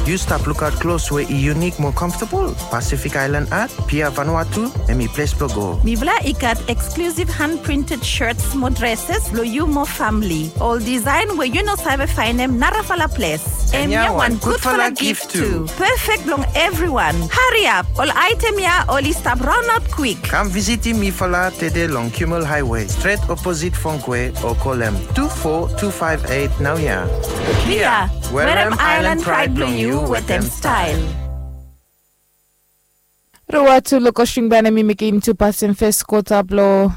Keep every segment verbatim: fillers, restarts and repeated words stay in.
Yu stap lukaot klos we i yunik mo comfortable? Pacific Island Art, Pia Vanuatu, hemi ples blo go. Mifala i gat exclusive hand printed shirts mo dresses blo yu mo famili. Ol design we yu no save faenem narafala ples. Hemia wan gudfala gift tu. Perfect blong everyone. Hariap, ol item ya oli stap raonaot kwik. Kam visitim mifala tede long Kimmel Highway, stret oposit Fongkwe, o kolem tu fo tu faef eit naoia. Pia, werem island pride blong yu wetem style. Rua tu lo Kosring Band hemi mekem tu pasin fes kota blo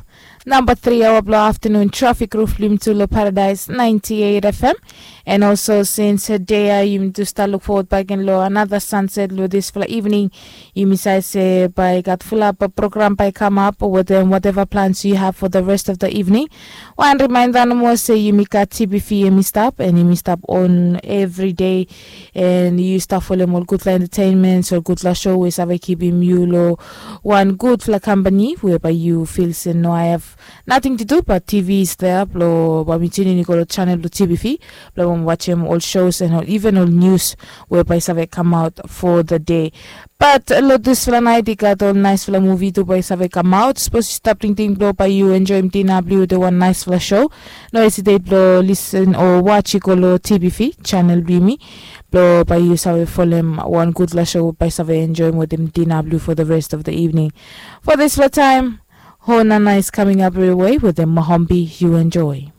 namba tri aoa blo aftenun. Trafik ruf lo yumi tu lo Paradise ninety-eight F M. And also since dei ya yumi tu stap luk fowod bakegen lo another sunset lo disfala evening, yumi save se bae i gat fulap program bae i kamap wetem whatever plans you have for the rest of the evening. Wan remainda nomo se yumi gat T B V hemi stap and hemi stap on every day. And yu stap folem ol gudfala entertainments, ol gudfala show we save kipim yu lo wan gudfala kampani we bae yu fil se no, I have nothing to do but T V is there blo bae mi tunin i go lo channel blo T B V blo bae mi wajem ol shows and ol, even ol news we bae i save kamaot for the day. But lo disfala naet i gat ol naesfala muvi tu bae i save kamaot. Sapos yu stap tingting blo bae yu enjoem dina blo yu wetem wan naesfala show, no hesitate blo listen o watch i go lo T B V channel blo yumi blo bae yu save folem wan gudfala show bae i save enjoem wetem dina blo yu for the rest of the evening. For disfala taem, Hona Nice coming up your way wetem Mohombi. Yu enjoy.